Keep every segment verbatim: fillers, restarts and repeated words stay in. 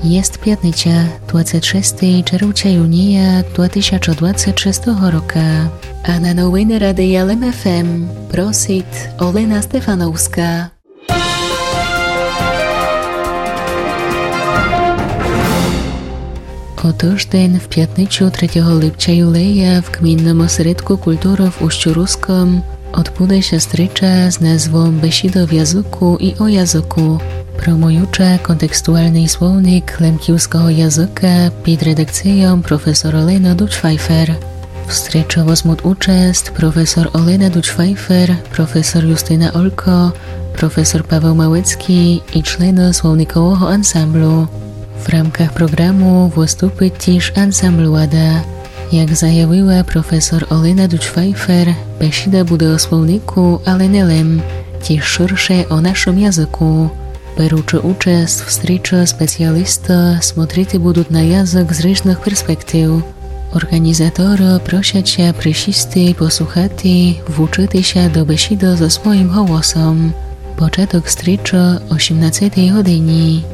Єст пятниця, двадцет шестый червця юнія два тисячы двадцет шестого рока. А на новины Радия Лем ФМ просит Олена Стефановска. О тыждень, в пятницю, третього липця юлея, в Гмінным осередку культуры в Устю Руском одбуде ся стріча з назвом Бесіда в языку і о языку. Промуюча контекстуалный словник лемківского языка під редакцийом професор Олена Дудь-Файфер. В стрічы возмут участ професор Олена Дудь-Файфер, професор Юстина Олько, професор Павел Малецкій і члены словникового ансамблю. В рамках програму выступит тіж ансамбль Лада. Як заявила професор Олена Дудь-Файфер, бесіда буде о словнику, але не лем, тіж ширше о нашым языку. Беручы участ в стрічы спеціалісты смотрити будут на язык з ріжных перспектив. Орґанізаторы просять ся присісти, послухати, вучыти ся до бесіды зо своім голосом. Початок стрічы о сімнадцетій годині.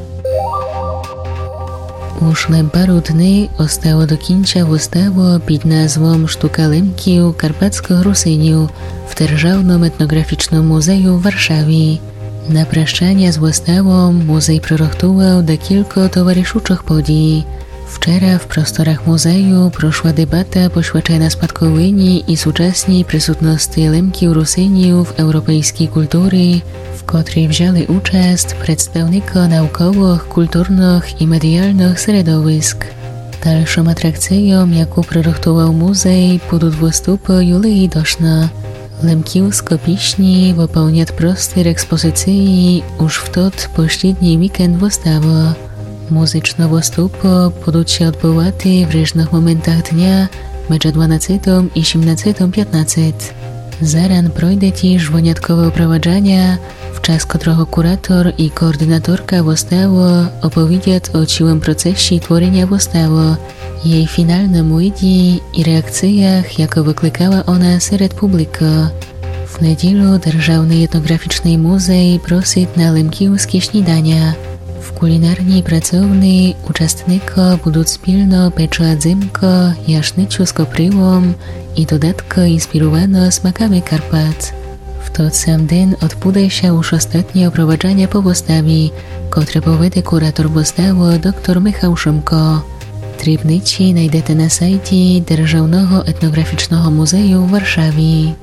Уж лем пару дни остало до кінця выставу під назвом Штука Лемків, Карпатскых Русинів в Державным етноґрафічным музею в Варшаві. На прощаня з выставом музей прирыхтувал декілько товаришучых подій. Вчера в просторах музею прошла дебата, посвячена спадковині і сучасній присутности Лемків, Русинів в европейскій культурі, в котрій взяли участ представникы науковых, культурных і медіалных середовиск. Дальшым атракцийом, яку прирыхтувал музей, будут выступы Юлії Дошна. Лемківскы пісні выполнят простір експозиції уж в тот послідній вікенд выставы. Музичны выступы будут ся одбывати в ріжных моментах дня меджі дванадцетым і сімнадцетым пятнадцет. Заран пройде тіж выняткове опроваджаня, в час котрого куратор і координаторка выставы оповідят о цілым процесі творіня выставы, єй фіналным виді і реакциях, якы выкликала она серед публікы. В неділю Державный етноґрафічный музей просит на лемківскі сніданя. В кулінарній працовни участникы будут спільно печы дзимка, яшницю з копрівом і додаткы, інспіруваны смаками Карпат. В тот сам ден одбуде ся уж остатнє опроваджаня по выставі, котре поведе куратор выставы доктор Михал Шымко. Дрібниці найдете на сайті Державного етноґрафічного музею в Варшаві.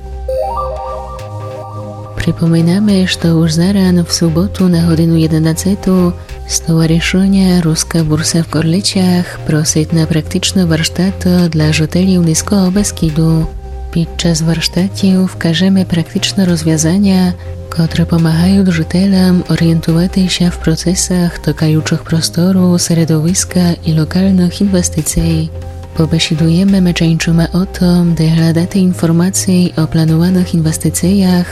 Припоминаме, што уж заран в суботу на годину єденадцету Стоваришыня Руска бурса в Корлицях просит на практичны варштат для жителів Низкого Бескіду. Під час варштатів вкажеме практичны розвязаня, котры помагают жителям орієнтувати ся в процесах токаючых простору, середовиска і локалных інвестиций. Побесідуєме меджі іншыма о том, де гладати інформації о плануваных інвестициях,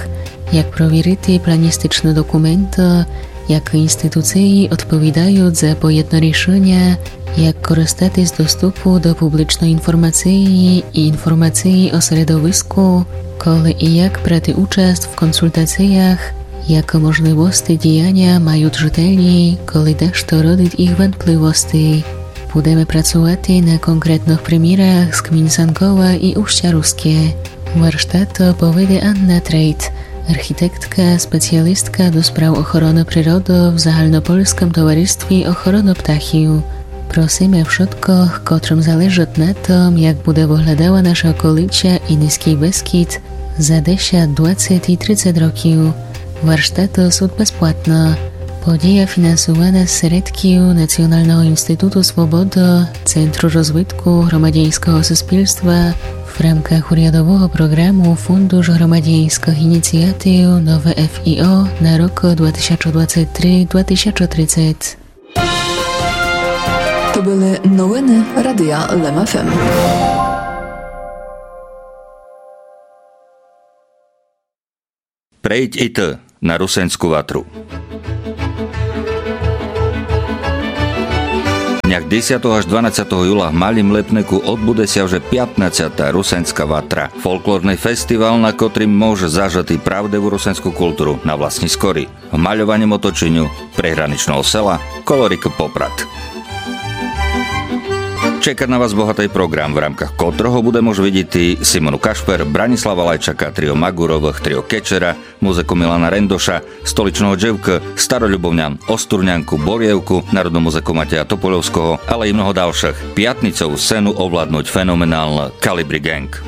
як провірити планістичны документы, якы інституциі одповідают за поєдно рішыня, як користати з доступу до публічной інформациі і інформациі о середовиску, коли і як брати участ в консультациях, якы можливости діяня мают жителі, коли дашто родит їх вамтпливости. Будеме працувати на конкретных примірах з гмін Санкова і Устя Руске. Варштат поведе Анна Трейт, архітектка, спеціалістка до справ охороны природы в Загальнопольскым товаристві охороны птахів. Просиме вшыткых, котрым залежыт на том, як буде выглядала наша околиця і Низкій Бескід за десят, двадцет і трицет років. Варштаты сут безплатны. Подія фінансувана з середків Націоналного інституту Свобода, Центру розвитку громадяньского суспільства в рамках урядового програму Фундуш громадяньскых ініціатив Нове ФІО на рокы два тисячы двадцет три, два тисячы тридцет. То были новины Радия Лем ФМ. Прейдь і ты на Русеньску ватру. Днях десятого аж дванадцятого юла в Малім Лепнику одбуде ся вже пятнадцята Русеньска ватра, фолклорный фестивал, на котрім можеш зажыти правдиву русеньску културу на власні скорі, в мальованім оточеню приграничного села коло рікы Попрад. Чекат на вас богатый програм, в рамках котрого буде мож видїти Симону Кашпер, Бранислава Лайчака, трио Магуровых, трио Кечера, музику Милана Рендоша, Столичного Дживка, Старолюбовнян, Остурнянку, Борєвку, народну музику Матея Топольовского, але и много далшых. Пятницов сцену овладнуть феноменална Калибри Ґенґ.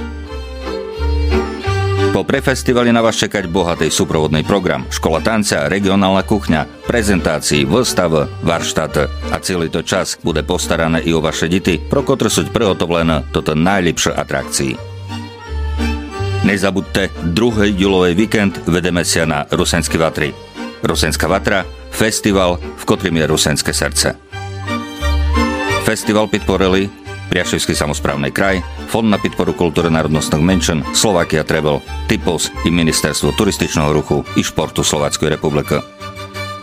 Попри фестивали на вас чекать богатый супроводный програм: школа танця, реґионална кухня, презентациї, выставы, варштаты. А цілый тот час буде постаране и о ваше дїти, про котры суть приготовлены тоты найлїпшы атракциї. Не забудте, другый юловый вікенд ведеме ся на Русеньскій ватри. Русеньска ватра — фестивал, в котрым є русеньске серце. Фестивал підпорили Пряшівскій самосправный край, Фонд на підпору културы народносных меншин, Словакія Тревел, Типос и Міністерство туристичного руху и шпорту Словацькой републикы.